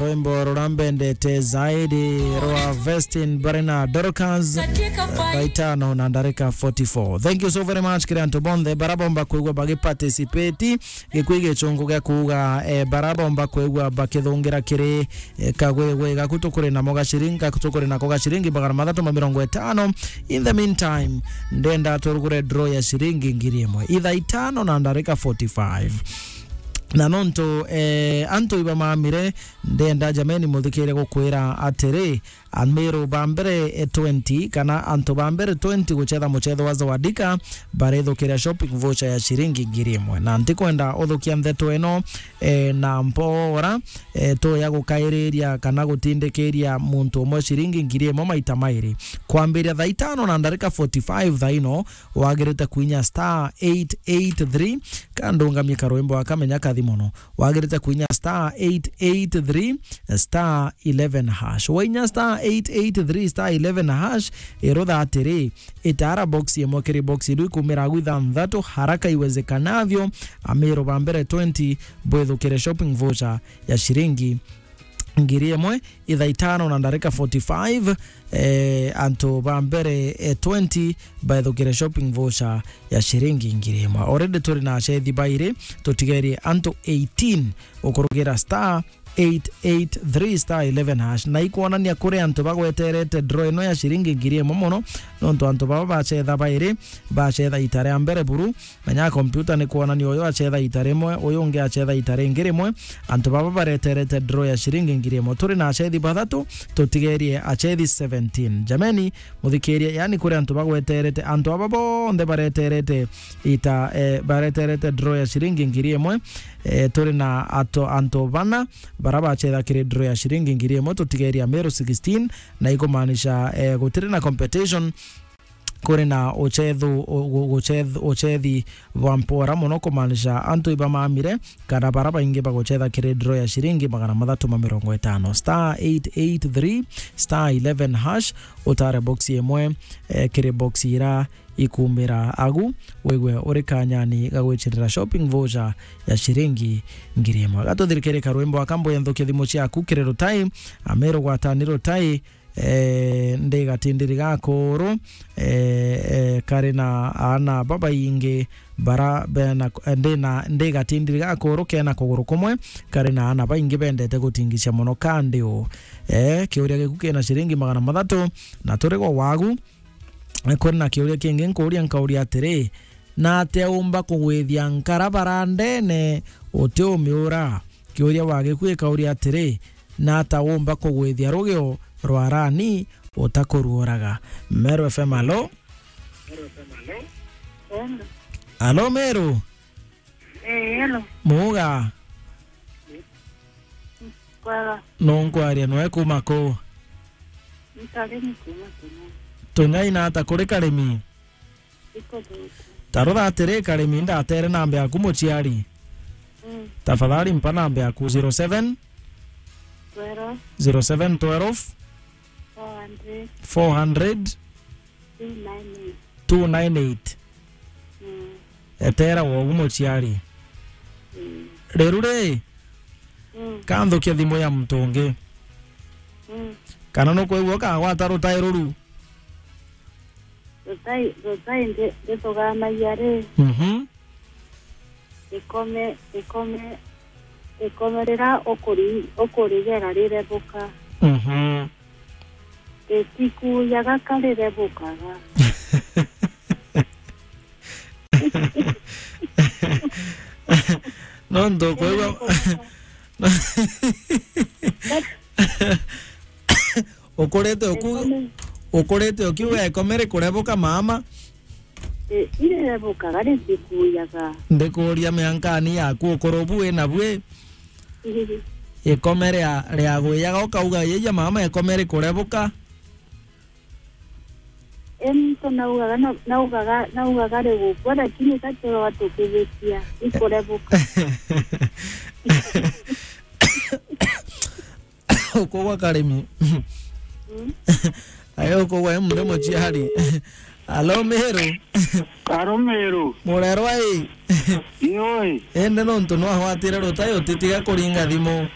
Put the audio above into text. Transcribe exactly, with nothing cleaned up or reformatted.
Rwimbo ruria mbendete zaidi rwa Vestin bari na Dorcas, thaa itano na ndarika forty-four. Thank you so very much kiri antu bonthe bara bomba kwigua bagi participate. Gikui gichungu gia kuuga, eh, bara bomba kwigua bakithungira kiri, eh, kagwigwi gaku tukuri namo ga ciringi, gaku tukuri nako ga ciringi magana mathatu ma mirongo itano. In the meantime, ndenda turugure draw ya ciringi ngiri imwe. Ithaa itano na ndarika forty-five. Na nontu, eh, antu iba mamire, ndenda jameni muthikire gukwira atiri, Amiru ba mbere, eh, twenty, kana antu ba mbere twenty guchetha muchetho wa Zawadika, barethukiria shopping voucher ya ciringi ngiri imwe. Na ntikwenda uthukia ntheto ino, eh, na mpora, eh, tuya gukairiria kana gutindikiria muntu umwe ciringi ngiri imwe maita mairi. Kwambiria thaa itano na ndarika forty-five thaa ino, wagirite kuinya star eight eight three, ka ndungamie karwimbo akamenya kathi mono. Wagirite kuinya star eight eight three star eleven hash. Wainya star eight eight three star eleven hash, irutha atiri, itara box imwe kiri box iru ikumira agu ithanthatu haraka iwezekanavyo. Amiru ba mbere twenty bwithukire shopping voucher ya ciringi ngiri imwe, ithaa itano na ndarika forty-five, eh, antu ba mbere, eh, twenty baithukire shopping voucher ya ciringi ngiri imwe. Already turi na acethi bairi, tutigerie antu eighteen ukurugira star eight eight three star eleven hash. Na ikwonania kuri antu bagweterete draw ino ya ciringi ngiri imwe mono, nontu antu baba bachetha bairi, bachetha ita ria mbere buru, menya kompyuta ni kwonania uyu achetha ita rimwe, uyu ungi achetha ita ringi rimwe. Antu baba bareterete draw ya ciringi ngiri imwe. Turi na acethi bathatu, tutigerie acethi seventeen. Jameni, muthikirie, yani kuri antu bagweterete, antu aba bonthe bareterete ita, eh, bareterete draw ya ciringi ngiri imwe. Eh, turi na ato, antu bana bara bachetha kiri draw ya ciringi ngiri imwe, tutigerie Meru sixteen, na ikumaanisha, eh, gutiri na competition. Kuri na uchethu, u-, gu-, guceth-, uchethi bwa mpora mono, kumaanisha antu iba mamire, kana bara baingi baguchetha kiri draw ya ciringi magana mathatu ma mirongo itano. Star eight eight three star eleven hash, utare box imwe, eh, kiri box ira ikumira agu, wigwe uri kanyani ga gwicirira shopping voucher ya ciringi ngiri imwe. Gatuthirikire karwimbo aka, mbuya nthukia thimu ciaku kiri Rutai, Amiru gwatani Rutai, eh, ndi gatindiri ga kuru, eh, eh, kari na aana babaingi bara bena, eh, ndi na, ndi gatindiri ga kuru kena kuguru kumwe, kari na aana baingi bendete gutingicia mono kandi u. Eh, kiuria giku kina ciringi magana mathatu, na turi gwa wagu, eh, kuri na kiuria kingi nkuuria, nkauria atiri, naatia umba kugwithia nkara bara ndene utiumiura? Kiuria wa giku ikauria atiri, nata umba kugwithia rugio rwa rani utakuruuraga? Meru F M, alo? Hello. Alo, Meru? Eh, hello. Muuga? Kwega. Nunkwaria, nwe kuma ku? Ntarimi kuma Tung'ai. Tung'ai nata kuri Karimi? Ikuthuku. Tarutha atiri, Karimi, ndatere namba yaku muciari. Mm. Tafadhali mpa namba yaku, zero seven, twelve, zero seven twelve, four hundred, four hundred, two nine eight. Two nine eight. Mm. Etera wogu muciari. Mm. Riu ri, mm, kanthukia thimu ya muntu ungi. Mm. Kana nukwigua ukagwata rutai ruru? Rutai, rutai ndi-, ndithugaanagia ri, mhm, ikome, ikome, ikome riria ukuri-, ukurigera rirebuka. Mhm. Ritikuujaga ka rirebukaga. Nontu kwigua ukurite uku-, ikome, ukurite ukiuga ikome rikurebuka mama. I-, irirebukaga, ritikuujaga. Ndikuuria miankani yaku ukuru bu wina bwi? Ikome ria, ria gwijaga ukauga, "Yeija mama, ikome rikurebuka." Ento naugaga, na-, naugaga, naugaga rigukua, lakini ka turwa tukibitia, ikurebuka. Ukugwa Karimi. Mm. Ayo ukugwa e mundu muciari. Alo, Meru. Alo, Meru. Murerwa i? Ioi. Ende nontu nwagwatire rutai utitiga kuringa thimu.